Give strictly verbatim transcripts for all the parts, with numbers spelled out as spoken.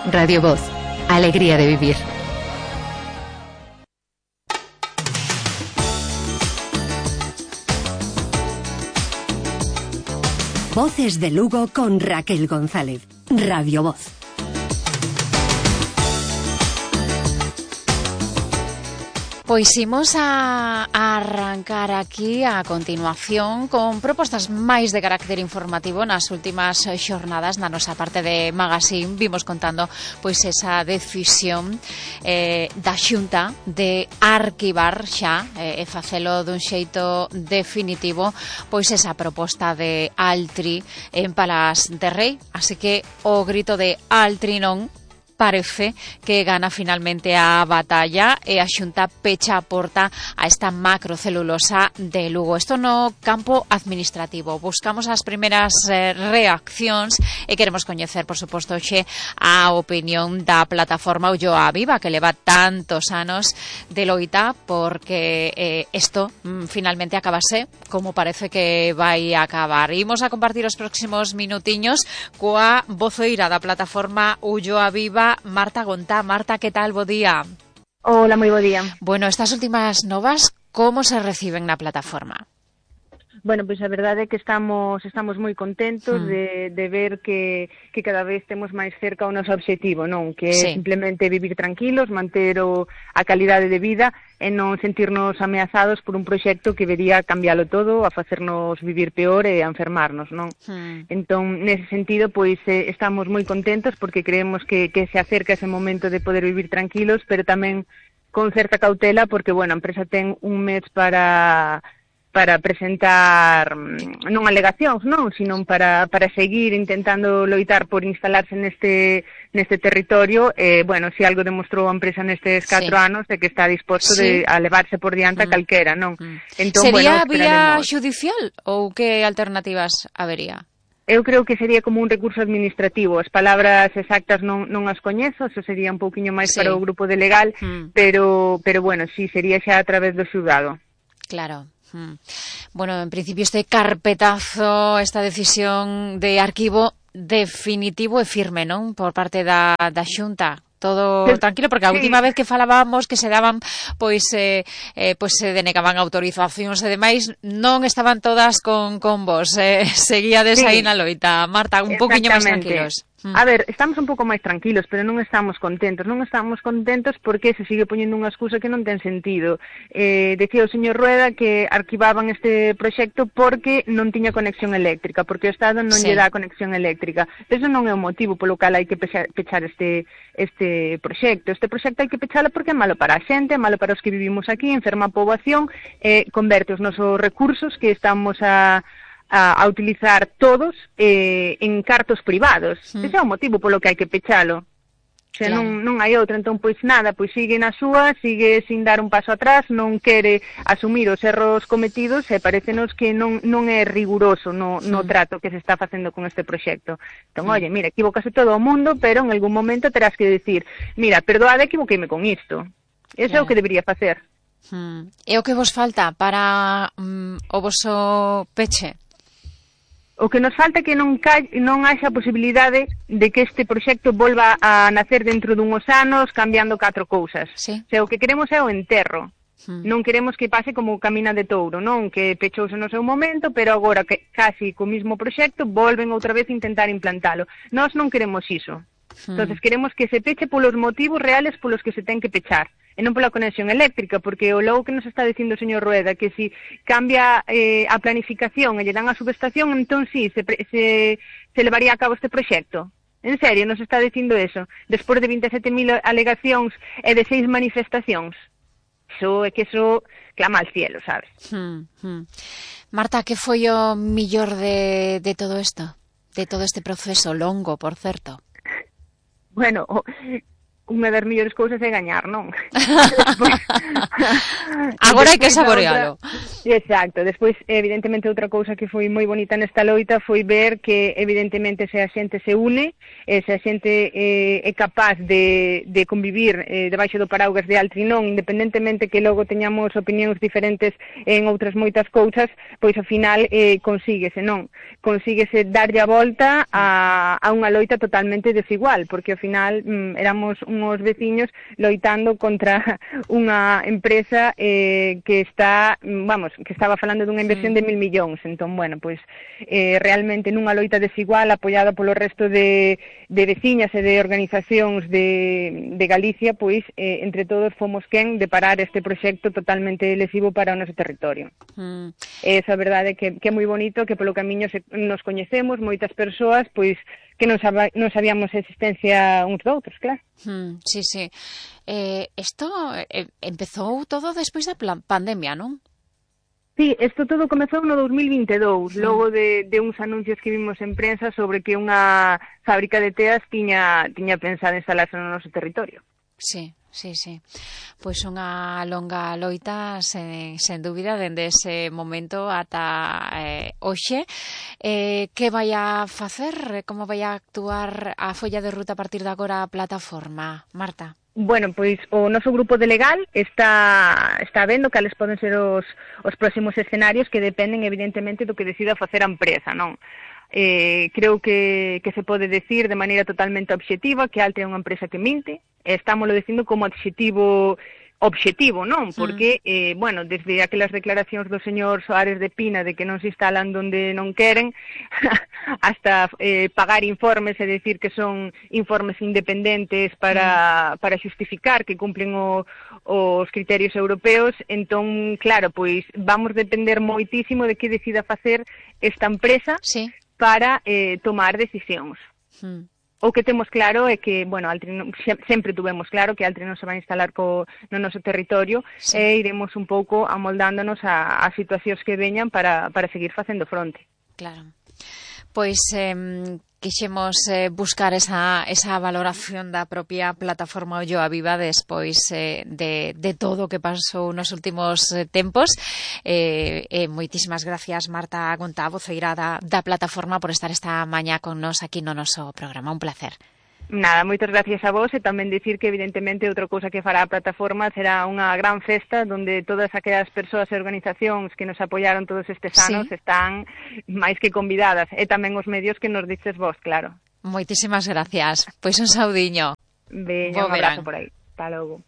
Radio Voz, alegría de vivir. Voces de Lugo con Raquel González. Radio Voz. Pois imos a, a arrancar aquí a continuación con propostas máis de carácter informativo. Nas últimas xornadas na nosa parte de Magazine vimos contando pois esa decisión eh, da Xunta de arquivar xa eh, e facelo dun xeito definitivo pois esa proposta de Altri en Palas de Rei. Así que o grito de Altri non parece que gana finalmente a batalla e a Xunta pecha a porta a esta macrocelulosa de Lugo. Isto no campo administrativo. Buscamos as primeiras eh, reaccións e queremos coñecer, por suposto, xe a opinión da plataforma Ulloa Viva, que leva tantos anos de loita porque eh, isto mm, finalmente acabase como parece que vai acabar. Imos a compartir os próximos minutiños coa voceira da plataforma Ulloa Viva, Marta Gontá. Marta, ¿qué tal? Bo día. Hola, moi bo día. Bueno, estas últimas novas, como se reciben na plataforma? Bueno, pois pues a verdade é que estamos estamos moi contentos mm. de, de ver que, que cada vez temos máis cerca o noso obxectivo, non? Que sí. é simplemente vivir tranquilos, manter o, a calidade de vida e non sentirnos ameazados por un proxecto que vería cambiálo todo, a facernos vivir peor e a enfermarnos, non? Mm. Entón, nese sentido, pois eh, estamos moi contentos porque creemos que, que se acerca ese momento de poder vivir tranquilos, pero tamén con certa cautela porque, bueno, a empresa ten un mes para para presentar non alegacións, non, sino para, para seguir intentando loitar por instalarse neste neste territorio. Eh, bueno, se si algo demostrou a empresa nestes catro sí. anos é que está disposto sí. de a levarse por diante mm. a calquera, non? Mm. Entón, sería bueno, vía judicial ou que alternativas habería? Eu creo que sería como un recurso administrativo. As palabras exactas non, non as coñezo, eso sería un pouquiño máis sí. para o grupo de legal, mm. pero, pero bueno, sí, sería xa a través do xulgado. Claro. Bueno, en principio este carpetazo, esta decisión de arquivo definitivo e firme, non? Por parte da, da Xunta. Todo tranquilo, porque a última sí. vez que falábamos que se daban, pois, eh, eh, pois se denegaban autorizacións e demais, non estaban todas con, con vos, eh, seguíades sí. aí na loita. Marta, un poquinho máis tranquilos. A ver, estamos un pouco máis tranquilos, pero non estamos contentos. Non estamos contentos porque se sigue poñendo unha excusa que non ten sentido. Eh, decía o señor Rueda que arquivaban este proxecto porque non tiña conexión eléctrica, porque o Estado non sí. lle dá conexión eléctrica. Eso non é o motivo polo cal hai que pechar, pechar este, este proxecto. Este proxecto hai que pechalo porque é malo para a xente, é malo para os que vivimos aquí, enferma a poboación, eh, converte os nosos recursos que estamos a... A, a utilizar todos eh, en cartos privados. Mm. Ese é o motivo polo que hai que pechalo. O sea, claro. non, non hai outro. Entón, pois nada, pois sigue na súa, sigue sin dar un paso atrás, non quere asumir os erros cometidos e parécenos que non, non é riguroso no, no mm. trato que se está facendo con este proxecto. Entón, mm. oye, mira, equivocase todo o mundo, pero en algún momento terás que decir, mira, perdoade, equivoqueime con isto. Eso claro. é o que debería facer. Mm. E o que vos falta para mm, o voso peche? O que nos falta é que non, ca... non haxa a posibilidade de que este proxecto volva a nacer dentro dunhos anos cambiando catro cousas. Sí. O sea, o que queremos é o enterro. Hmm. Non queremos que pase como o Camina de Touro, non? Que pechouse no seu momento, pero agora que casi co mismo proxecto volven outra vez a intentar implantalo. Nós non queremos iso. Hmm. Entonces queremos que se peche polos motivos reales polos que se ten que pechar. E non pola conexión eléctrica, porque o logo que nos está dicindo o señor Rueda, que si cambia eh, a planificación e lle dan a subestación, entón sí, se, se, se levaría a cabo este proxecto. En serio, nos está dicindo eso, despois de veintisiete mil alegacións e de seis manifestacións. Eso é que eso clama al cielo, sabes? Hmm, hmm. Marta, que foi o millor de, de todo isto? De todo este proceso longo, por certo? Bueno... O... unha das mellores cousas é gañar, non? Agora hai que saborealo. Exacto. Despois, evidentemente, outra cousa que foi moi bonita nesta loita foi ver que, evidentemente, se a xente se une, eh, se a xente eh, é capaz de, de convivir eh, debaixo do paraugas de Altrinón, independentemente que logo teñamos opinións diferentes en outras moitas cousas, pois, ao final, eh, consíguese, non? Consíguese darlle a volta a, a unha loita totalmente desigual, porque, ao final, mm, éramos unhos veciños loitando contra unha empresa eh, que está, vamos, que estaba falando dunha inversión de mil millóns. Entón, bueno, pois eh, realmente nunha loita desigual apoiada polo resto de, de veciñas e de organizacións de, de Galicia, pois eh, entre todos fomos quen de parar este proxecto totalmente lesivo para o noso territorio. Mm. Esa verdade que, que é moi bonito, que polo camiño se, nos coñecemos, moitas persoas, pois que non, sab non sabíamos a existencia uns doutros, claro. Mm, sí, sí. Eh, esto eh, empezou todo despois da pandemia, non? Sí, isto todo comezou no dos mil vinte e dous, sí. Logo de, de uns anuncios que vimos en prensa sobre que unha fábrica de teas tiña, tiña pensado instalarse no noso territorio. Sí, sí, sí. Pois unha longa loita, sen, sen dúbida, dende ese momento ata eh, hoxe. Eh, que vai a facer? Como vai a actuar a folla de ruta a partir de agora a plataforma, Marta? Bueno, pois o noso grupo de legal está está vendo cales poden ser os, os próximos escenarios que dependen evidentemente do que decida facer a empresa, non? Eh, creo que, que se pode decir de maneira totalmente obxectiva que Altri é unha empresa que minte, e estámoslo dicindo como adxetivo obxectivo, non? Porque, eh, bueno, desde aquelas declaracións do señor Soares de Pina de que non se instalan donde non queren, hasta eh, pagar informes e decir que son informes independentes para, para xustificar que cumplen o, os criterios europeos. Entón, claro, pois vamos depender moitísimo de que decida facer esta empresa, sí, para eh, tomar decisións. Mm. O que temos claro é que, bueno, Altri non, sempre tuvemos claro que Altri non se vai instalar co, no noso territorio, sí, e iremos un pouco amoldándonos a, a situacións que veñan para, para seguir facendo fronte. Claro. Pois eh, quixemos eh, buscar esa, esa valoración da propia plataforma Olloa Viva despois eh, de, de todo o que pasou nos últimos eh, tempos. Eh, eh, moitísimas gracias, Marta Gontá, voceira da, da plataforma, por estar esta mañá con nos aquí no noso programa. Un placer. Nada, moitas gracias a vos, e tamén dicir que evidentemente outra cousa que fará a plataforma será unha gran festa onde todas aquelas persoas e organizacións que nos apoiaron todos estes anos, sí, están máis que convidadas, e tamén os medios que nos dices vos, claro. Moitísimas gracias. Pois un saudiño. Veña, un abrazo por aí. Hasta logo.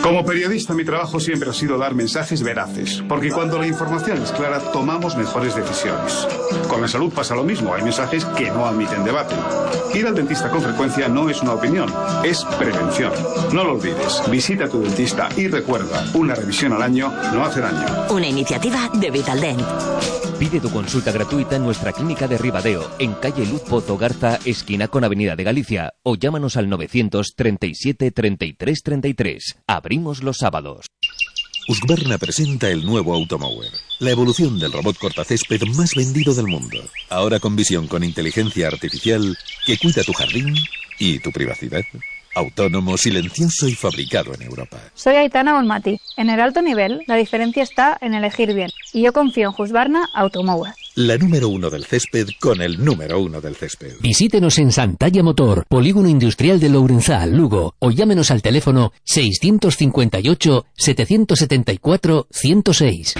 Como periodista, mi trabajo siempre ha sido dar mensajes veraces, porque cuando la información es clara, tomamos mejores decisiones. Con la salud pasa lo mismo, hay mensajes que no admiten debate. Ir al dentista con frecuencia no es una opinión, es prevención. No lo olvides, visita a tu dentista y recuerda, una revisión al año no hace daño. Una iniciativa de Vitaldent. Pide tu consulta gratuita en nuestra clínica de Ribadeo, en calle Luz Pozo Garza, esquina con Avenida de Galicia, o llámanos al novecientos treinta y siete treinta y tres treinta y tres. Abrimos los sábados. Husqvarna presenta el nuevo Automower, la evolución del robot cortacésped más vendido del mundo. Ahora con visión con inteligencia artificial que cuida tu jardín y tu privacidad. Autónomo, silencioso y fabricado en Europa. Soy Aitana Olmati. En el alto nivel, la diferencia está en elegir bien. Y yo confío en Husqvarna Automower. La número uno del césped con el número uno del césped. Visítenos en Santalla Motor, Polígono Industrial de Lourenzal, Lugo, o llámenos al teléfono seiscientos cincuenta y ocho, setecientos setenta y cuatro, ciento seis.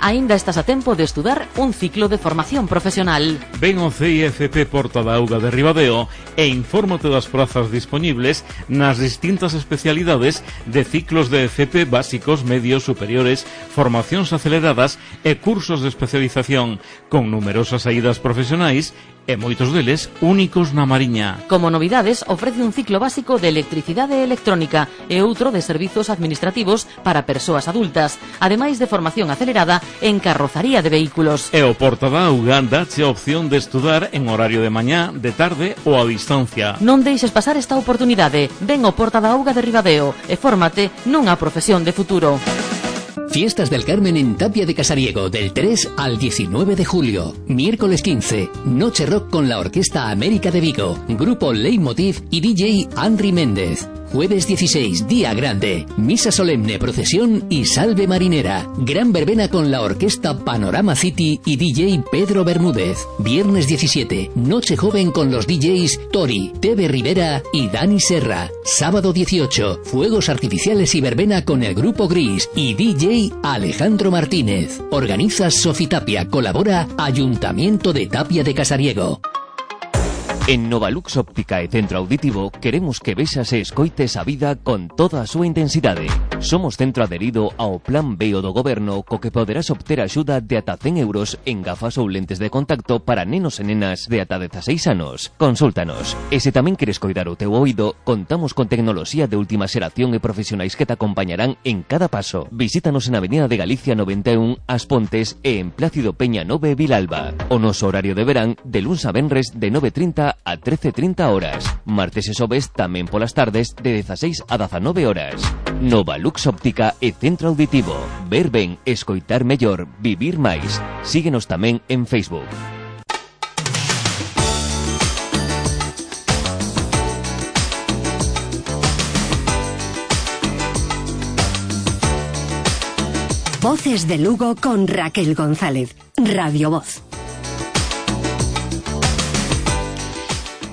Aínda estás a tempo de estudar un ciclo de formación profesional. Ven ao C I F P Porta da Auga de Ribadeo e infórmate das prazas disponibles nas distintas especialidades de ciclos de F P básicos, medios, superiores, formacións aceleradas e cursos de especialización, con numerosas saídas profesionais e moitos deles únicos na Mariña. Como novidades, ofrece un ciclo básico de electricidade e electrónica e outro de servizos administrativos para persoas adultas, ademais de formación acelerada en carrozaría de vehículos. E o Porta da Auga dache a opción de estudar en horario de mañá, de tarde ou a distancia. Non deixes pasar esta oportunidade. Ven ao Porta da Auga de Ribadeo e fórmate nunha profesión de futuro. Fiestas del Carmen en Tapia de Casariego del tres al diecinueve de julio. Miércoles quince, Noche Rock con la Orquesta América de Vigo, Grupo Leitmotiv y D J Henry Méndez. Jueves dieciséis, Día Grande, Misa Solemne, Procesión y Salve Marinera. Gran verbena con la Orquesta Panorama City y D J Pedro Bermúdez. Viernes diecisiete, Noche Joven con los D Js Tori, Tebe Rivera y Dani Serra. Sábado dieciocho, Fuegos Artificiales y verbena con el Grupo Gris y D J Alejandro Martínez. Organiza Sofitapia, colabora Ayuntamiento de Tapia de Casariego. En Novalux Óptica e Centro Auditivo queremos que vexas e escoites a vida con toda a súa intensidade. Somos centro adherido ao Plan B do Goberno, co que poderás obter axuda de ata cen euros en gafas ou lentes de contacto para nenos e nenas de ata dezaseis anos. Consúltanos. E se tamén queres coidar o teu oído, contamos con tecnoloxía de última xeración e profesionais que te acompañarán en cada paso. Visítanos en Avenida de Galicia noventa e un, As Pontes e en Plácido Peña nove, Vilalba. O noso horario de verán de luns a venres de nove e trinta a trece e trinta horas. Martes e xoves tamén polas tardes de dezaseis a dezanove horas. Novalux Óptica e Centro Auditivo. Ver ben, escoitar mellor, vivir máis. Síguenos tamén en Facebook. Voces de Lugo con Raquel González. Radio Voz.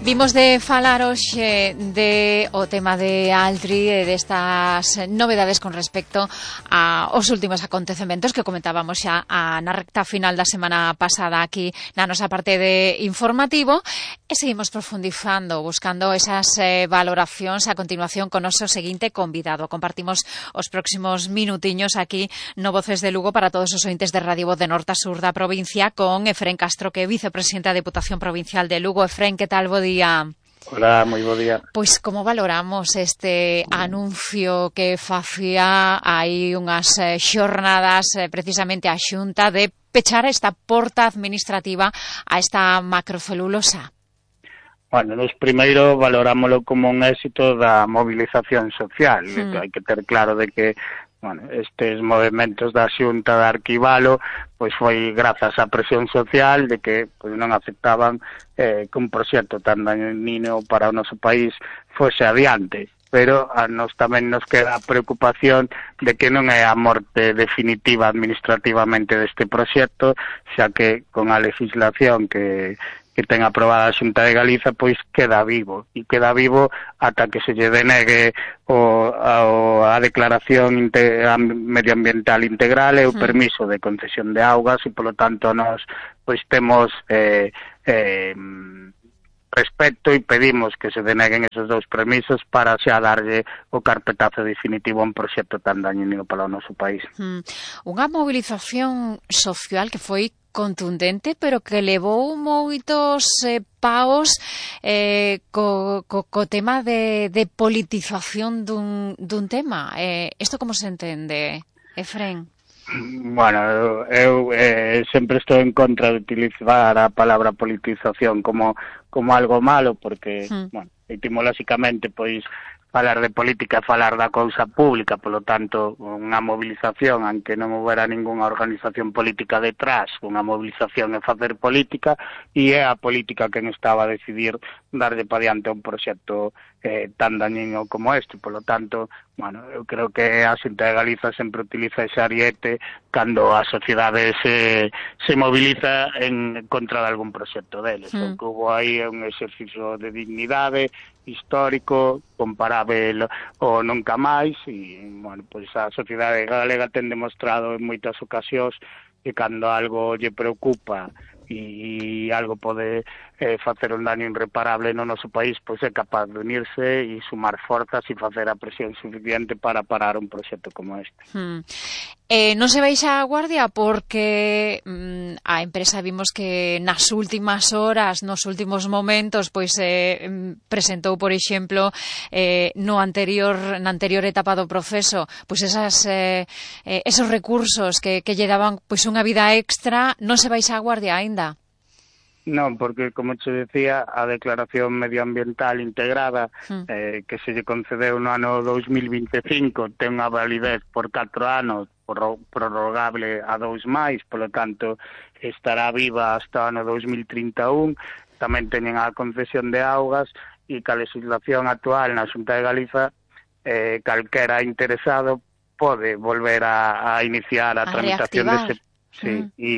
Vimos de falar hoxe de o tema de Altri e destas novedades con respecto aos últimos acontecementos que comentábamos xa a, na recta final da semana pasada aquí na nosa parte de informativo e seguimos profundizando, buscando esas eh, valoracións a continuación con o noso seguinte convidado. Compartimos os próximos minutiños aquí no Voces de Lugo para todos os ointes de Radio Voz de norte a sur da provincia con Efrén Castro, que é vicepresidente da Deputación Provincial de Lugo. Efrén, que tal? Bo día. Hola, moi bo día. Pois como valoramos este anuncio que facía hai unhas eh, xornadas eh, precisamente a Xunta de pechar esta porta administrativa a esta macrocelulosa? Bueno, nos primeiro valorámoslo como un éxito da movilización social. Hmm. Hai que ter claro de que bueno, estes movimentos da Xunta de arquivalo pois foi grazas á presión social de que pois non aceptaban eh, que un proxecto tan dañino para o noso país fose adiante. Pero a nos tamén nos queda a preocupación de que non é a morte definitiva administrativamente deste proxecto, xa que con a legislación que que ten aprobada a Xunta de Galiza, pois queda vivo, e queda vivo ata que se lle denegue o, a, a declaración inte, a medioambiental integral e o permiso de concesión de augas, e polo tanto nos pois temos eh, eh, respecto e pedimos que se deneguen esos dous permisos para xa darlle o carpetazo definitivo a un proxecto tan dañino para o noso país. Hmm. Unha movilización social que foi contundente, pero que levou moitos eh, paos eh, co, co, co tema de, de politización dun, dun tema. Eh, isto como se entende, Efrén? Bueno, eu eh, sempre estou en contra de utilizar a palabra politización como, como algo malo, porque, hmm. bueno, etimolóxicamente, pois, falar de política é falar da cousa pública, polo tanto, unha movilización, aunque non houbera ningunha organización política detrás, unha movilización é facer política, e é a política quen estaba a decidir darlle pa diante a un proxecto eh, tan dañino como este. Polo tanto, bueno, eu creo que a Xunta de Galiza sempre utiliza ese ariete cando a sociedade se, se moviliza en contra de algún proxecto deles. Mm. O que hubo aí é un exercicio de dignidade histórico, comparável ou nunca máis, e, bueno, pois a sociedade galega ten demostrado en moitas ocasións que cando algo lle preocupa e algo pode eh, facer un daño irreparable no noso país, pois é capaz de unirse e sumar forzas e facer a presión suficiente para parar un proxecto como este. Hmm. Eh, non se baixa a guardia porque mm, a empresa vimos que nas últimas horas, nos últimos momentos, pois eh, presentou, por exemplo, eh, no anterior na anterior etapa do proceso, pois esas eh, eh, esos recursos que, que lle daban pois unha vida extra. Non se baixa a guardia aínda? Non, porque, como che decía, a declaración medioambiental integrada mm. eh, que se lle concedeu no ano dos mil vinte e cinco ten unha validez por catro anos, prorrogable a dous máis, polo tanto estará viva hasta o ano dos mil trinta e un. Tamén teñen a concesión de augas e que a legislación actual na Xunta de Galiza eh, calquera interesado pode volver a, a iniciar a, a tramitación dese... Sí, mm. e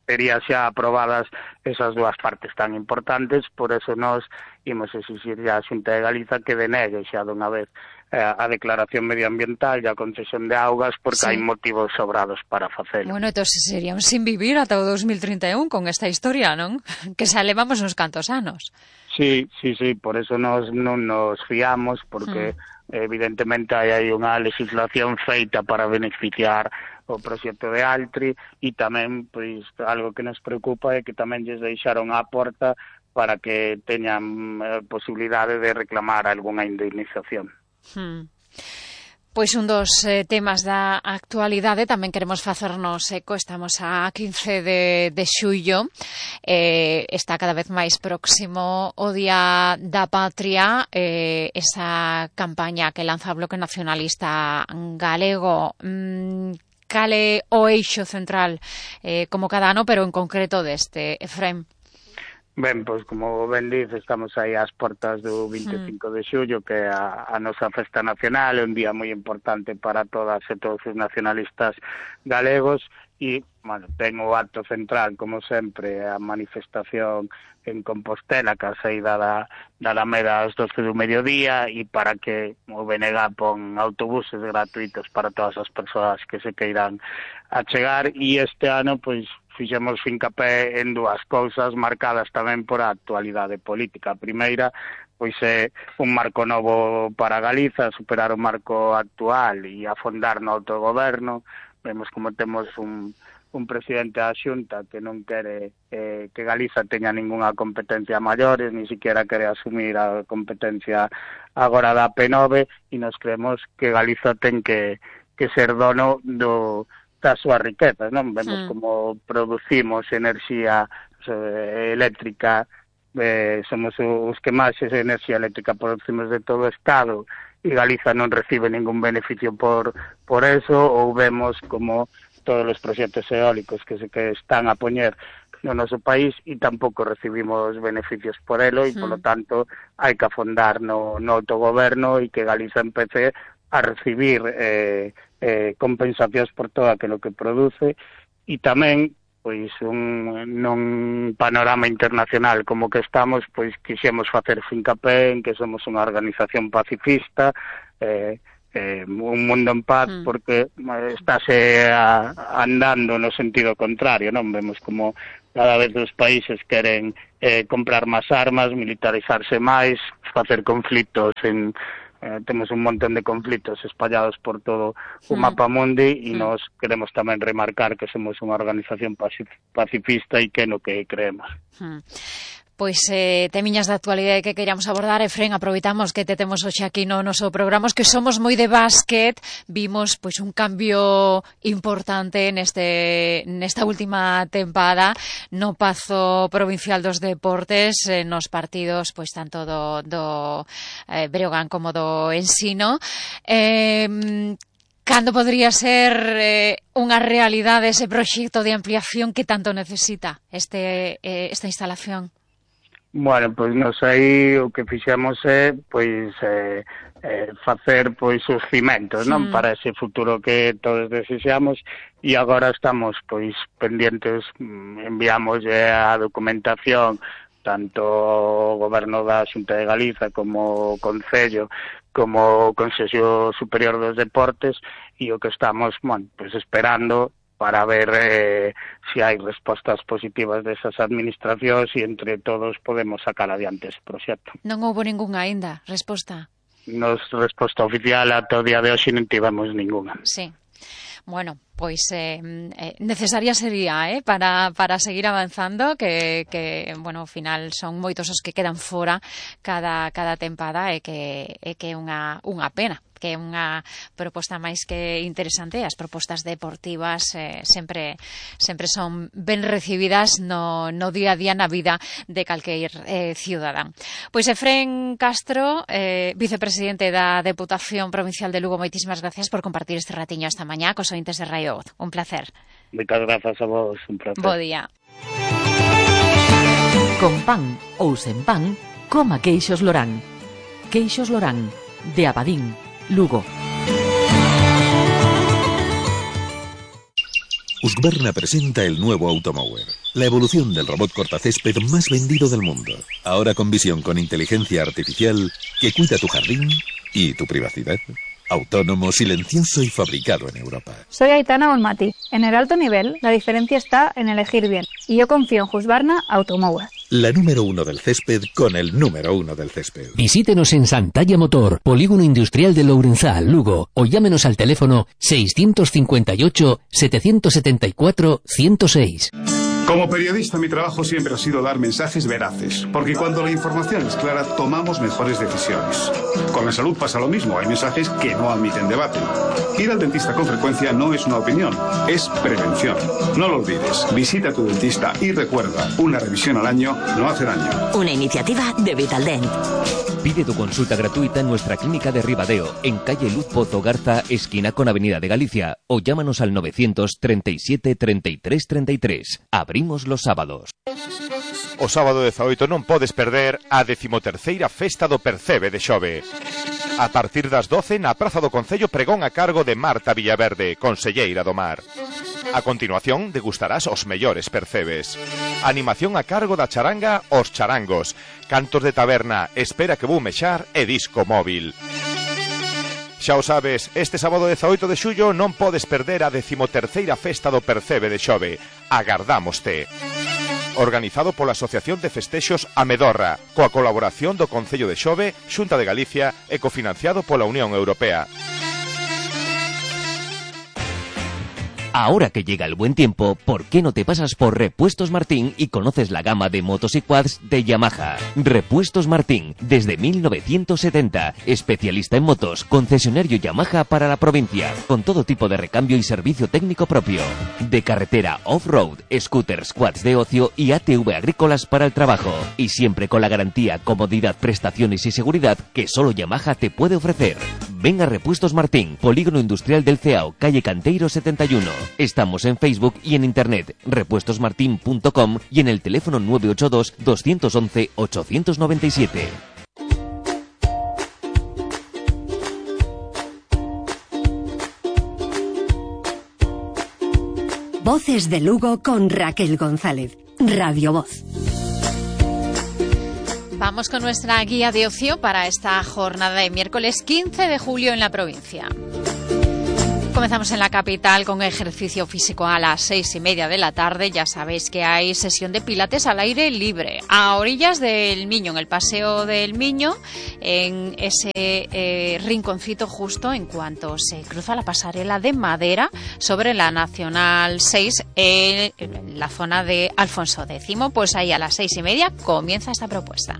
tería xa aprobadas esas dúas partes tan importantes, por eso nós imos exixir a Xunta de Galiza que denegue xa dunha vez eh, a declaración medioambiental e a concesión de augas, porque sí. hai motivos sobrados para facelo. Bueno, entón seríamos sin vivir ata o dos mil trinta e un con esta historia, non? Que xa levamos uns cantos anos. Sí, sí, sí, por eso nos non nos fiamos, porque mm. evidentemente hai aí unha legislación feita para beneficiar o proxecto de Altri, e tamén, pois, algo que nos preocupa é que tamén lles deixaron á porta para que teñan eh, posibilidade de reclamar algunha indemnización. Hmm. Pois un dos eh, temas da actualidade tamén queremos facernos eco. Estamos a quince de, de xullo, eh, está cada vez máis próximo o Día da Patria, eh, esa campaña que lanza o Bloque Nacionalista Galego. Mm, cal é o eixo central, eh, como cada ano, pero en concreto deste, Efrén? Ben, pois, como ben dice, estamos aí ás portas do vinte e cinco de xullo, que é a, a nosa festa nacional, é un día moi importante para todas e todos os nacionalistas galegos, e, bueno, ten o acto central, como sempre, a manifestación en Compostela, que a saída da, da Alameda ás doce do mediodía, e para que o B N G pon autobuses gratuitos para todas as persoas que se queiran achegar, e este ano, pois, fixemos fincapé en dúas cousas marcadas tamén por a actualidade política. A primeira, pois é un marco novo para Galiza, superar o marco actual e afondar no autogoberno. Vemos como temos un, un presidente da Xunta que non quere eh, que Galiza teña ningunha competencia maiores, ni siquiera quere asumir a competencia agora da P nove, e nos creemos que Galiza ten que, que ser dono do das súas riquezas, non? Vemos mm. como producimos enerxía eh, eléctrica, eh, somos os que máis enerxía eléctrica producimos de todo o Estado, e Galiza non recibe ningún beneficio por, por eso, ou vemos como todos os proxectos eólicos que se que están a poñer no noso país e tampouco recibimos beneficios por elo, e, mm. polo tanto, hai que afondar no, no autogoberno e que Galiza empece a recibir eh, eh, compensacións por todo aquilo que produce, e tamén, pois, un, nun panorama internacional como que estamos, pois, quixemos facer fincapé en que somos unha organización pacifista, eh, eh, un mundo en paz, mm. porque estáse a, andando no sentido contrario, non? Vemos como cada vez os países queren eh, comprar máis armas, militarizarse máis, facer conflitos en Eh, temos un montón de conflitos espallados por todo o mapa mundi, e mm. nos queremos tamén remarcar que somos unha organización pacifista e que no que creemos. Mm. Pois eh, temiñas da actualidade que queríamos abordar, Efrén, aproveitamos que te temos hoxe aquí no noso programa, que somos moi de básquet, vimos pois un cambio importante neste nesta última tempada no Pazo Provincial dos Deportes, eh, nos partidos pois tanto do, do eh, Breogán como do Ensino. Eh, Cando podría ser eh, unha realidade ese proxecto de ampliación que tanto necesita este eh, esta instalación? Bueno, pois nos aí o que fixemos é pois eh, eh, facer pois os cimentos, non? Mm. Para ese futuro que todos desexamos, e agora estamos pois pendientes, enviamos a documentación tanto o Goberno da Xunta de Galiza como o Concello como o Consello Superior dos Deportes, e o que estamos, bueno, pois esperando para ver eh, se hai respostas positivas desas administracións e entre todos podemos sacar adiante ese proxecto. Non houbo ningunha aínda resposta? Nos resposta oficial ata o día de hoxe non tivemos ningunha. Sí. Bueno, pois eh, eh, necesaria sería eh, para, para seguir avanzando, que, que, bueno, ao final son moitos os que quedan fora cada, cada tempada, e que é que unha, unha pena, que é unha proposta máis que interesante. As propostas deportivas eh, sempre sempre son ben recibidas no, no día a día na vida de calqueir eh, ciudadán. Pois Efrén Castro, eh, vicepresidente da Deputación Provincial de Lugo, moitísimas gracias por compartir este ratiño esta mañá cos ointes de Radio Voz. Un placer. Moitas grazas a vos, un placer. Bo día. Con pan ou sen pan, coma queixos Lorán. Queixos Lorán, de Abadín, Lugo. Husqvarna presenta el nuevo Automower, la evolución del robot cortacésped más vendido del mundo. Ahora con visión con inteligencia artificial que cuida tu jardín y tu privacidad. Autónomo, silencioso y fabricado en Europa. Soy Aitana Olmati. En el alto nivel, la diferencia está en elegir bien. Y yo confío en Husqvarna Automower. La número uno del césped con el número uno del césped. Visítenos en Santalla Motor, Polígono Industrial de Lourenzal, Lugo, o llámenos al teléfono seiscientos cincuenta y ocho, setecientos setenta y cuatro, ciento seis. Como periodista, mi trabajo siempre ha sido dar mensajes veraces, porque cuando la información es clara, tomamos mejores decisiones. Con la salud pasa lo mismo, hay mensajes que no admiten debate. Ir al dentista con frecuencia no es una opinión, es prevención. No lo olvides, visita a tu dentista y recuerda, una revisión al año no hace daño. Una iniciativa de Vitaldent. Pide tu consulta gratuita en nuestra clínica de Ribadeo, en calle Luz Pozo Garza, esquina con Avenida de Galicia, o llámanos al novecientos treinta y siete, treinta y tres, treinta y tres. Abrimos los sábados. O sábado dezaoito non podes perder a decimoterceira Festa do Percebe de Xove. A partir das doce na Praza do Concello, pregón a cargo de Marta Villaverde, conselleira do Mar. A continuación degustarás os mellores percebes. Animación a cargo da charanga Os Charangos. Cantos de taberna, espera que vou mexar e disco móvil. Xa o sabes, este sábado dezaoito de xullo non podes perder a decimoterceira Festa do Percebe de Xove. Agardámoste. Organizado pola Asociación de Festexos Amedorra, coa colaboración do Concello de Xove, Xunta de Galicia e cofinanciado pola Unión Europea. Ahora que llega el buen tiempo, ¿por qué no te pasas por Repuestos Martín y conoces la gama de motos y quads de Yamaha? Repuestos Martín, desde mil novecientos setenta, especialista en motos, concesionario Yamaha para la provincia, con todo tipo de recambio y servicio técnico propio. De carretera off-road, scooters, quads de ocio y A T V agrícolas para el trabajo. Y siempre con la garantía, comodidad, prestaciones y seguridad que solo Yamaha te puede ofrecer. Ven a Repuestos Martín, Polígono Industrial del Ceao, calle Canteiro setenta y uno. Estamos en Facebook y en internet, repuestos martin punto com y en el teléfono nueve ocho dos, dos once, ocho nueve siete. Voces de Lugo con Raquel González. Radio Voz. Vamos con nuestra guía de ocio para esta jornada de miércoles quince de julio en la provincia. Comenzamos en la capital con ejercicio físico a las seis y media de la tarde. Ya sabéis que hay sesión de pilates al aire libre a orillas del Miño, en el Paseo del Miño, en ese eh, rinconcito justo en cuanto se cruza la pasarela de madera sobre la Nacional seis en, en la zona de Alfonso X. Pues ahí a las seis y media comienza esta propuesta.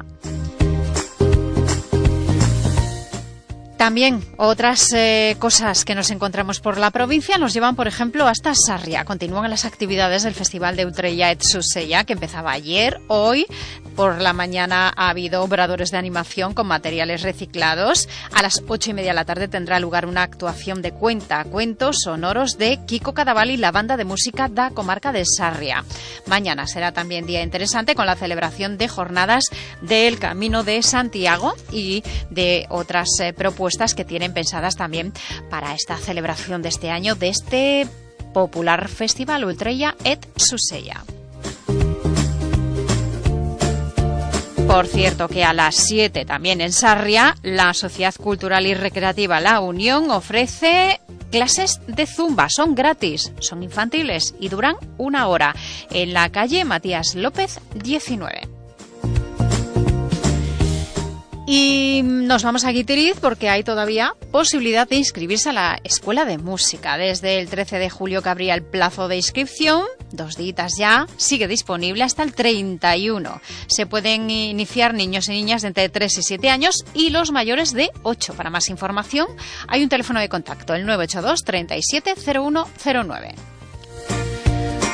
También otras eh, cosas que nos encontramos por la provincia nos llevan, por ejemplo, hasta Sarria. Continúan las actividades del Festival de Utrella et Susella, que empezaba ayer. Hoy, por la mañana, ha habido obradores de animación con materiales reciclados. A las ocho y media de la tarde tendrá lugar una actuación de cuentacuentos sonoros de Kiko Cadaval y la banda de música da comarca de Sarria. Mañana será también día interesante con la celebración de jornadas del Camino de Santiago y de otras eh, propuestas que tienen pensadas también para esta celebración de este año de este popular festival Utrella et Susella. Por cierto que a las siete también en Sarria, la Sociedad Cultural y Recreativa La Unión ofrece clases de zumba. Son gratis, son infantiles y duran una hora en la calle Matías López diecinueve. Y nos vamos a Guitiriz porque hay todavía posibilidad de inscribirse a la Escuela de Música. Desde el trece de julio que abría el plazo de inscripción, dos días ya, sigue disponible hasta el treinta y uno. Se pueden iniciar niños y niñas de entre tres y siete años y los mayores de ocho. Para más información hay un teléfono de contacto, el nueve ocho dos, treinta y siete, cero uno cero nueve.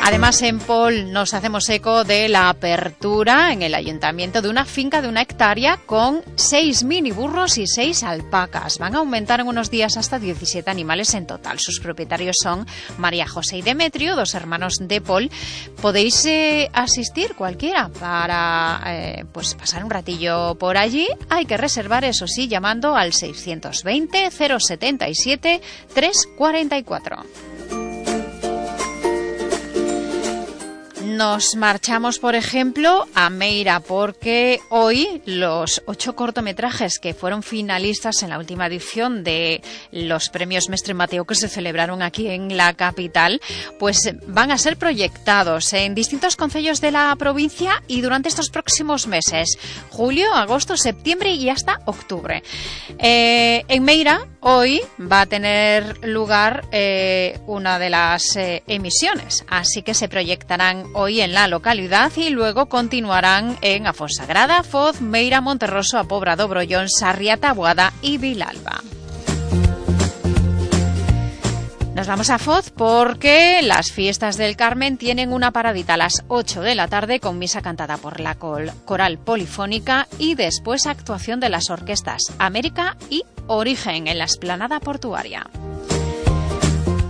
Además, en Pol nos hacemos eco de la apertura en el ayuntamiento de una finca de una hectárea con seis miniburros y seis alpacas. Van a aumentar en unos días hasta diecisiete animales en total. Sus propietarios son María José y Demetrio, dos hermanos de Pol. Podéis eh, asistir cualquiera para eh, pues pasar un ratillo por allí. Hay que reservar, eso sí, llamando al seiscientos veinte, cero setenta y siete, trescientos cuarenta y cuatro. Nos marchamos, por ejemplo, a Meira, porque hoy los ocho cortometrajes que fueron finalistas en la última edición de los premios Mestre Mateo que se celebraron aquí en la capital, pues van a ser proyectados en distintos concellos de la provincia y durante estos próximos meses, julio, agosto, septiembre y hasta octubre. Eh, en Meira, hoy va a tener lugar eh, una de las eh, emisiones, así que se proyectarán hoy hoy en la localidad y luego continuarán en Afonsagrada, Foz, Meira, Monterroso, Apobra, Dobrollón, Sarria, Taboada y Vilalba. Nos vamos a Foz porque las fiestas del Carmen tienen una paradita a las ocho de la tarde con misa cantada por la coral polifónica y después actuación de las orquestas América y Origen en la explanada portuaria.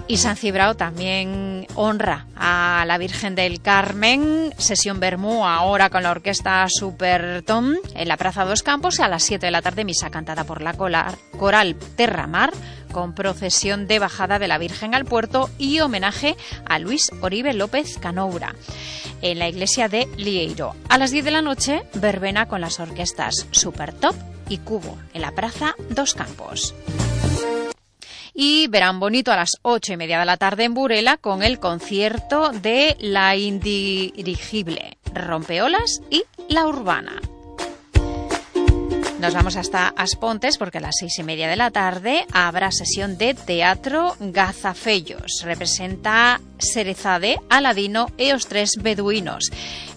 Y San Cibrao también honra a la Virgen del Carmen. Sesión Bermú ahora con la orquesta Supertom en la Plaza Dos Campos. A las siete de la tarde misa cantada por la coral Terramar con procesión de bajada de la Virgen al puerto y homenaje a Luis Oribe López Canoura en la iglesia de Lieiro. A las diez de la noche verbena con las orquestas Supertop y Cubo en la Plaza Dos Campos. Y verán bonito a las ocho y media de la tarde en Burela con el concierto de La Indirigible, Rompeolas y La Urbana. Nos vamos hasta Aspontes porque a las seis y media de la tarde habrá sesión de teatro Gazafellos. Representa Serezade, Aladino e os tres beduinos.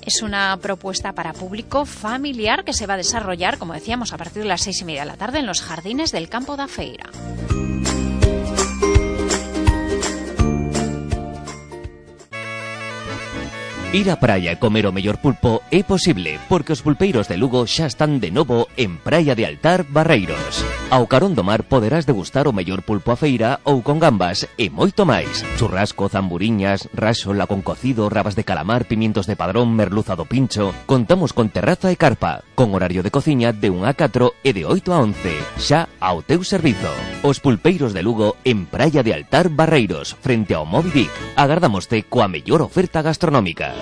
Es una propuesta para público familiar que se va a desarrollar, como decíamos, a partir de las seis y media de la tarde en los jardines del Campo da Feira. Ir á praia e comer o mellor pulpo é posible porque os pulpeiros de Lugo xa están de novo en Praia de Altar, Barreiros. Ao carón do mar poderás degustar o mellor pulpo a feira ou con gambas e moito máis. Churrasco, zamburiñas, raxola con cocido, rabas de calamar, pimientos de padrón, merluza do pincho. Contamos con terraza e carpa, con horario de cociña de unha a catro e de oito a once, xa ao teu servizo. Os pulpeiros de Lugo en Praia de Altar, Barreiros, frente ao Moby Dick. Agardámoste coa mellor oferta gastronómica.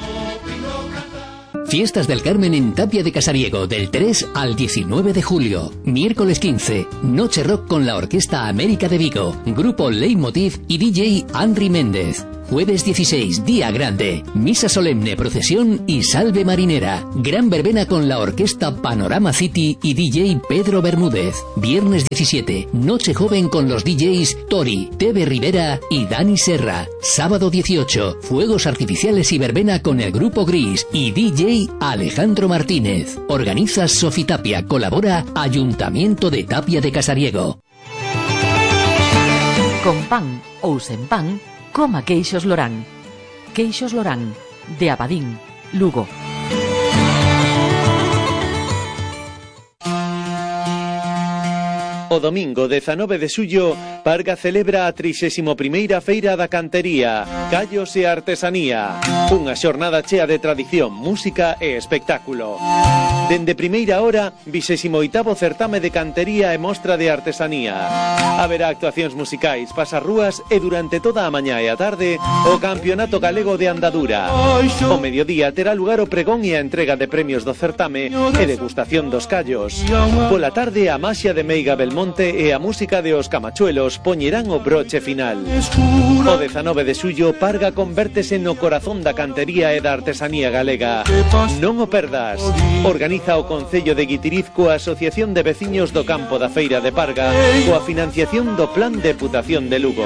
Fiestas del Carmen en Tapia de Casariego del tres al diecinueve de julio. Miércoles quince, Noche Rock con la Orquesta América de Vigo, Grupo Leitmotiv y D J Henry Méndez. Jueves dieciséis, Día Grande, Misa Solemne, Procesión y Salve Marinera. Gran verbena con la Orquesta Panorama City y D J Pedro Bermúdez. Viernes diecisiete, Noche Joven con los D Js Tori, Tebe Rivera y Dani Serra. Sábado dieciocho, Fuegos Artificiales y verbena con el Grupo Gris y D J Alejandro Martínez. Organiza Sofitapia, colabora Ayuntamiento de Tapia de Casariego. Con pan ou sen pan, coma queixos Lorán. Queixos Lorán, de Abadín, Lugo. O domingo dezanove de xullo, Parga celebra a trixésima primeira Feira da Cantería, Callos e Artesanía. Unha xornada chea de tradición, música e espectáculo. Dende primeira hora, vixésimo oitavo certame de cantería e mostra de artesanía. Haberá actuacións musicais, pasarrúas e durante toda a mañá e a tarde o Campeonato Galego de Andadura. O mediodía terá lugar o pregón e a entrega de premios do certame e degustación dos callos. Pola tarde a maxia de Meiga Belmonte e a música de Os Camachuelos poñerán o broche final. O dezanove de xullo, Parga convértese no corazón da cantería e da artesanía galega. Non o perdas. Organiza o Concello de Guitiriz coa Asociación de Veciños do Campo da Feira de Parga coa financiación do Plan Deputación de Lugo.